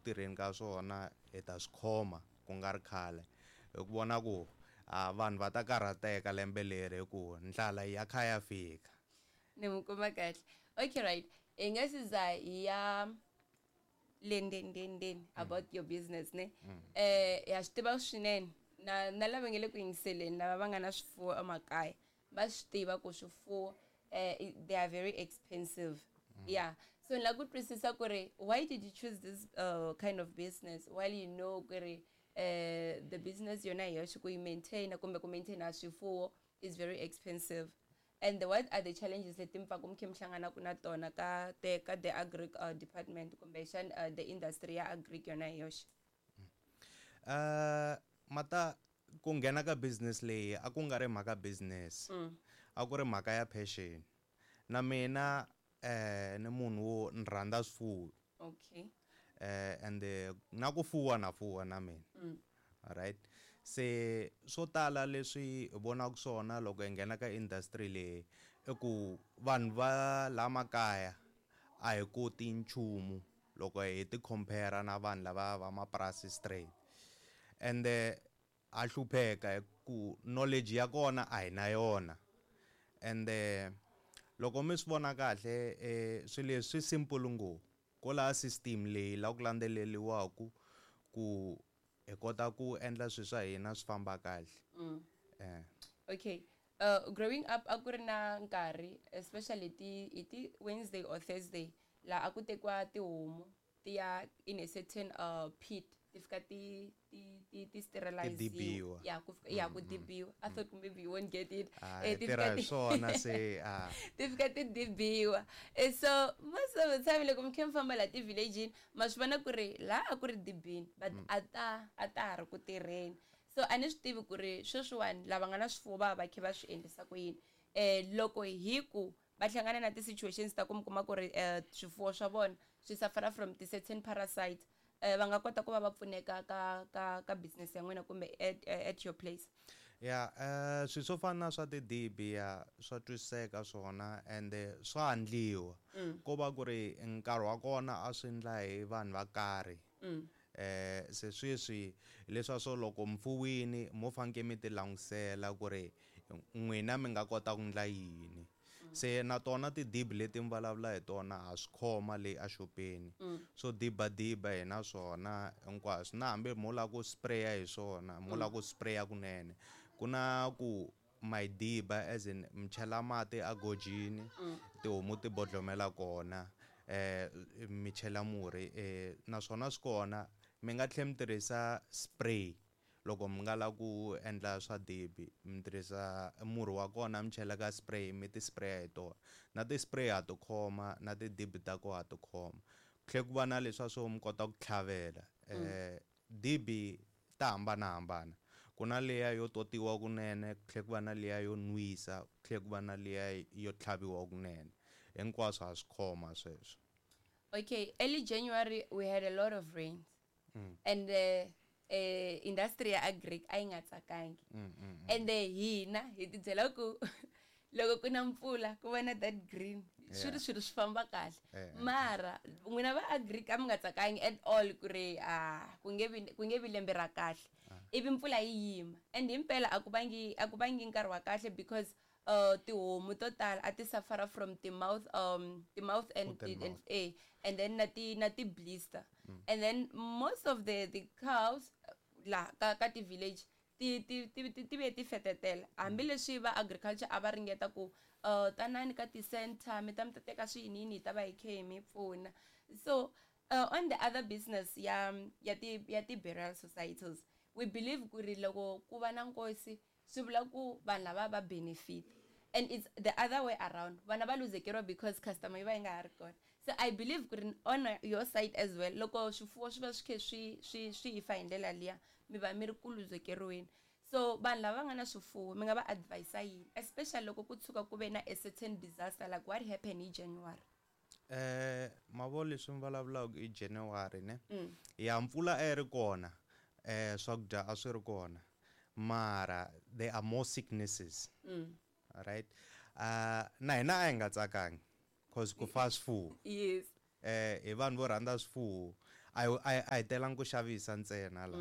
tirheni ka swona, hi ta swi khoma ku nga ri khale. Hi ku vona ku a vanhu va ta karhateka lembe leri hi ku ndlala ya kha ya fika. Ni mi kuma kahle. Okay, right. Hi nga si za hi ya le ndzeni ndzeni ndzeni about your business, ne? Ya swi tiva swinene na lava nge le ku yingiseleni, lava va nga na swifuwo emakaya va swi tiva ku swifuwo they are very expensive. Yeah, so ni lava ku twisisa ku ri why did you choose this kind of business while you know ku ri the business yona hi yoxe ku yi maintain kumbe ku maintaina swifuwo is very expensive, and what are the challenges leti mi pfaku mi kha mi hlanganaka na tona ka the agric department kumbexana the industry ya agric yona hi yoxe? Mata ku nghena ka business leyi a ku nga ri mhaka business, a ku ri mhaka ya passion. Na mina ni munhu wo ni rhandza swifuwo. And na ku fuwa na fuwa na mina. Alright, se swo tala leswi hi vonaka swona loko hi nghena ka industry leyi i ku vanhu va la makaya a hi koti nchumu loko hi ti compare na vanhu lava va mapurasi straight, ende ha hlupheka hi ku knowledge ya kona a hi na yona. Ende loko mi swi vona kahle, swilo leswi swi simple ngopfu, ko laha system leyi la ku landzeleriwaku ku hi kota ku endla swilo swa hina swi famba kahle. Okay, growing up a ku ri na nkarhi, especially ti hi ti Wednesday or Thursday, laha a ku tekiwa tihomu ti ya in a certain pit, ti fika ti steriliziwa. Dibiwa. Ya ku fika ya ku dibiwa. I thought maybe you won't get it. Ah, ti tirha fika hi swona se, ah. Ti fika ti dibiwa. So most of the time loko mi kha mi famba laha ti-village-ini, ma swi vona ku ri laha a ku ri dibini, but a ta ha ri ku tirheni. So a ni swi tivi ku ri sweswiwani lava nga na swifuwo va va kha va swi endlisa ku yini, loko hi ku va hlangana na ti-situations ta ku mi kuma ku ri swifuwo swa vona swi suffer from ti-certain parasites, va nga kota ku va va pfuneka ka business ya n'wina kumbe at your place? Ya, swilo swo fana na swa tidibi, ya swa twisiseka swona, ende swa endliwa. Ko va ku ri nkarhi wa kona a swi endla hi vanhu va karhi. Se sweswi leswa swo loko mfuwini mo faneke mi ti langutisela ku ri n'wina mi nga kota ku endla yini. Se na tona tidibi leti mi vulavula hi tona ha swi khoma le axopeni. Swo dibadiba hi na swona hinkwaswo, na hambi mo lava ku sprayer hi swona, mo lava ku sprayer kunene, ku na ku ma yi diba, as in mi chela mati a gojini, tihomu ti bodlomela kona, mi chela murhi, naswona swi kona. Mi nga tlhela mi tirhisa spray loko mi nga lava ku endla swa dibi, mi tirhisa murhi wa kona, mi chela ka spray, mi ti sprayer hi tona. Na ti spray ha ti khoma, na tidibi ta kona ha ti khoma. Ku tlhela ku va na leswa swo mi kota ku tlhavela. Dibi ta hambanahambana, ku na liya yo totiwa kunene, ku tlhela ku va na liya yo nwisa, ku tlhela ku va na liya yo tlhaviwa kunene. Hinkwaswo ha swi khoma sweswo. Okay, early January we had a lot of rains and industry ya agric a yi nga tsakangi. Ende hina hi ti byela ku loko ku na mpfula ku va na that green, swi ri swilo swi famba kahle. Mara n'wina va agric a mi nga tsakangi at all ku ri a ku nge vi lembe ra kahle, ivi mpfula yi yima, and himpela a ku vangi nkarhi wa kahle because tihomu to tala a ti suffer from the mouth and Foot and and, mouth. And then na ti blister, and then most of the cows la ka ti village ti ve ti fetetela, hambileswi va agriculture a va ringeta ku tanani ka ti-center mi ta teka swiyiniyini, hi ta va hi khe hi mi pfuna. So on the other business ya ti burial societies, we believe ku ri loko ku va na nkosi swi vula ku vanhu lava va benefit, and it's the other way around, vana va luzekeriwa because customer yi va yi nga ha ri kona. So I believe ku ri on your side as well, loko swifuwo swi va swi khe swi fa hi ndlela liya, mi va mi ri ku luzekeriweni. So vanhu lava nga na swifuwo mi nga va advisa yini, especially loko ku tshuka ku ve na a certain disaster like what happened hi January? Mavo leswi mi vulavulaka i January ne? Ya, mpfula a yi ri kona, swakudya a swi ri kona, mara there are more sicknesses. Right, na hina a hi nga tsakangi cause ku fa swifuwo. Hi vanhu vo rhandza swifuwo. A hi telangi ku xavisa ntsena la.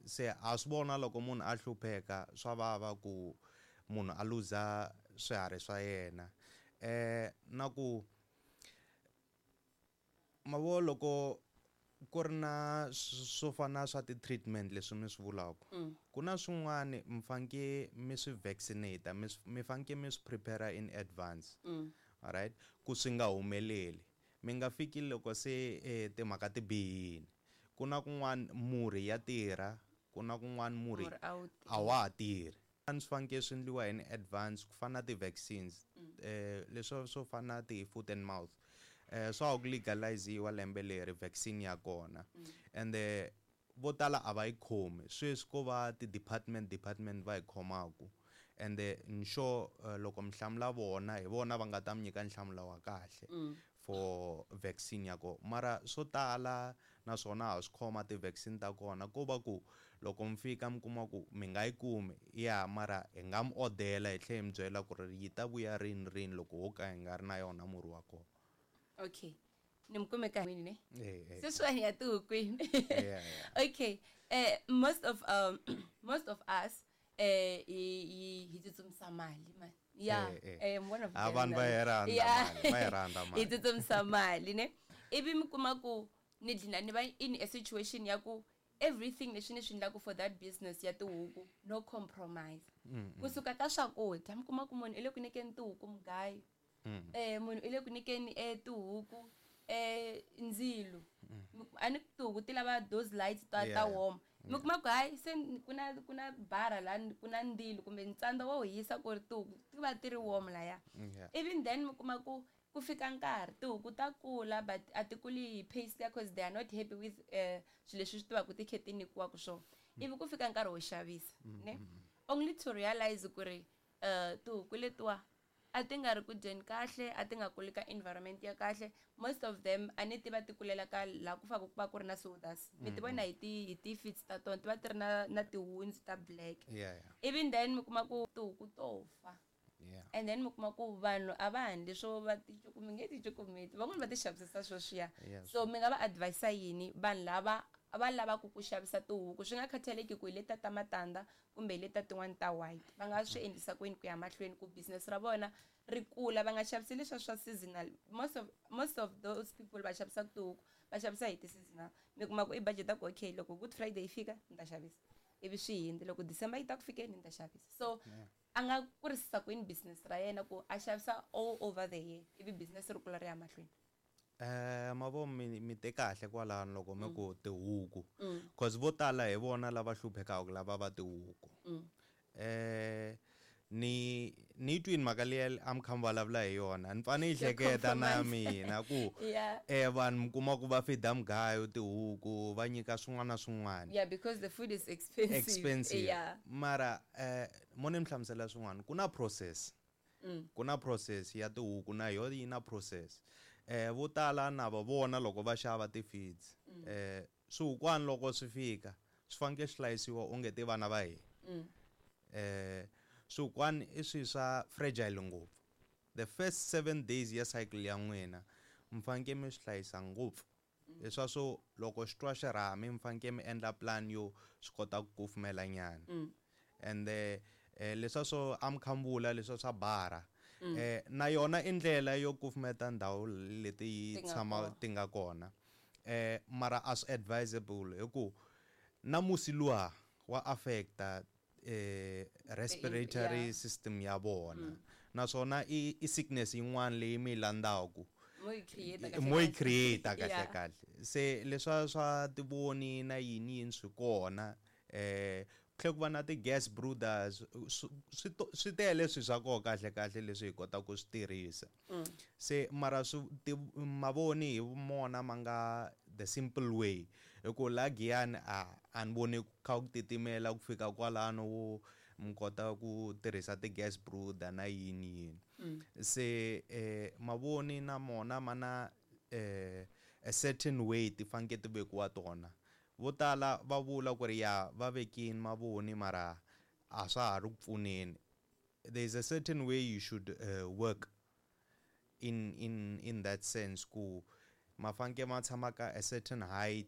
Se a swi vona loko munhu a hlupheka, swa vava ku munhu a luza swiharhi swa yena. Na ku mavo loko ku ri na swo fana swa ti-treatment leswi mi swi vulaka, ku na swin'wani mi faneke mi swi vaccinate, mi faneke mi swi prepare in advance, alright, ku swi nga humeleli, mi nga fiki loko se timhaka ti bihile. Ku na kun'wana murhi ya tirha, ku na kun'wana murhi a wa ha tirhi. Swi faneke swi endliwa in advance, ku fana na ti-vaccines, leswi swo fana na ti-foot and mouth, swa ha ku legaliziwa lembe leri vaccine ya kona, ende vo tala a va yi khomi sweswi, ko va ti-department department va yi khomaku. Ende ni sure loko mi hlamula vona, hi vona va nga ta mi nyika nhlamulo wa kahle for vaccine ya kona. Mara swo tala naswona ha swi khoma ti-vaccine ta kona, ko va ku loko mi fika mi kuma ku mi nga yi kumi ya, mara hi nga mi odela, hi tlhela hi mi byela ku ri yi ta vuya rini rini loko ho ka hi nga ri na yona murhi wa kona. Okay, ni mi kume ka ne sweswiwani ya tihukwini. Okay, most of us hi tsutsumisa mali man. Yeah, one of them. Vanhu va yi rhandza mali, va yi rhandza mali. Hi tsutsumisa mali ne, ivi mi kuma ku ni dlina ni va in a situation ya ku everything leswi ni swi endlaku for that business ya tihuku, no compromise. Kusuka ka swakudya, mi kuma ku munhu i le ku nyikeni tihuku mugayo, munhu i le ku nyikeni tihuku ndzilo, a ni tihuku ti lava those lights ta warm. Mi kuma ku hayi, se ku na bara la ku na ndzilo kumbe ntsandza wo hisa ku ri tihuku ti va ti ri warm laya. Even then mi kuma ku ku fika nkarhi tihuku ta kula, but a ti kuli hi pace liya, cause they are not happy with swilo leswi swi tivaka ti khe ti nyikiwaka swona. Ivi ku fika nkarhi wo xavisa ne, only to realize ku ri tihuku letiwa a ti nga ri ku dyeni kahle, a ti nga kuli ka environment ya kahle. Most of them a ni tiva ti kulela ka laha ku fanele ku va ku ri na sawdust. Mi ti vona hi ti feet ta tona, ti va ti ri na ti-wounds ta black. Even then mi kuma ku tihuku to fa. And then mi kuma ku vanhu a va handli swo va ti mi nge ti cukumeti, van'wani va ti xavisisa sweswiya. So mi nga va advisa yini vanhu lava va lavaka ku xavisa tihuku, swi nga khathaleki ku hi leta ta matandza kumbe hi leta tin'wani ta white, va nga swi endlisa kwini ku ya mahlweni ku business ra vona ri kula, va nga xavisi leswa swa seasonal? Most of those people va xavisaka tihuku va xavisa hi ti-seasonal. Mi kuma ku i budget ku okay, loko Good Friday yi fika ni ta xavisa, ivi swi hindzi, loko December yi ta ku fikeni ni ta xavisa. So a nga kurisisa kwini business ra yena ku a xavisa all over the year, ivi business ri kula ri ya mahlweni? Mavo mi te kahle kwalano loko mi ku tihuku, cause vo tala hi vona lava hluphekaka, lava va tihuku. Ni twini mhaka liya a mi kha mi vulavula hi yona, ni pfa ni yi hleketa na mina ku vanhu mi kuma ku va feeda mugayo tihuku, va nyika swin'wana na swin'wana. Yeah, because the food is expensive. Expensive. Mara mo ni mi hlamusela swin'wana, ku na process. Ku na process ya tihuku, na yo yi na process. Vo tala na va vona loko va xava ti-feeds, swihukwana loko swi fika swi fanekele swi hlayisiwa onge ti vana va hina. Swihukwana i swilo swa fragile ngopfu. The first 7 days ya cycle ya n'wina mi fanekele mi swi hlayisa ngopfu, leswa swo loko xi twa xirhami mi fanekele mi endla plan yo swi kota ku kufumela nyana. Ende leswa swo a mi kha mi vula leswa swa bara, na yona i ndlela yo kufumeta ndhawu leti yi Ti nga tshama kona. Ti nga kona, mara a swi advisable hi ku na musi luwa wa affecta respiratory system ya vona, naswona i sickness yin'wana leyi mi yi landzaku. Mo yi create kahle Mo yi kahle. Create kahle. Kahle, se leswa swa tivoni na yini yini swi kona, ku tlhela ku va na ti-gas brooders, swi tele swilo swa koho kahle kahle leswi hi kotaka ku swi tirhisa. Se mara swi mavoni hi mona ma nga the simple way, hi ku la Giyani a ni voni ku kha ku titimela ku fika kwalano wo mi kota ku tirhisa ti-gas brooder na yini yini. Se mavoni na mona ma na a certain way ti fanekele ti vekiwa tona. Vo tala va vula ku ri ya va vekini mavoni, mara a swa ha ri ku pfuneni. There is a certain way you should work in that sense ku Ma faneke ma tshama ka a certain height.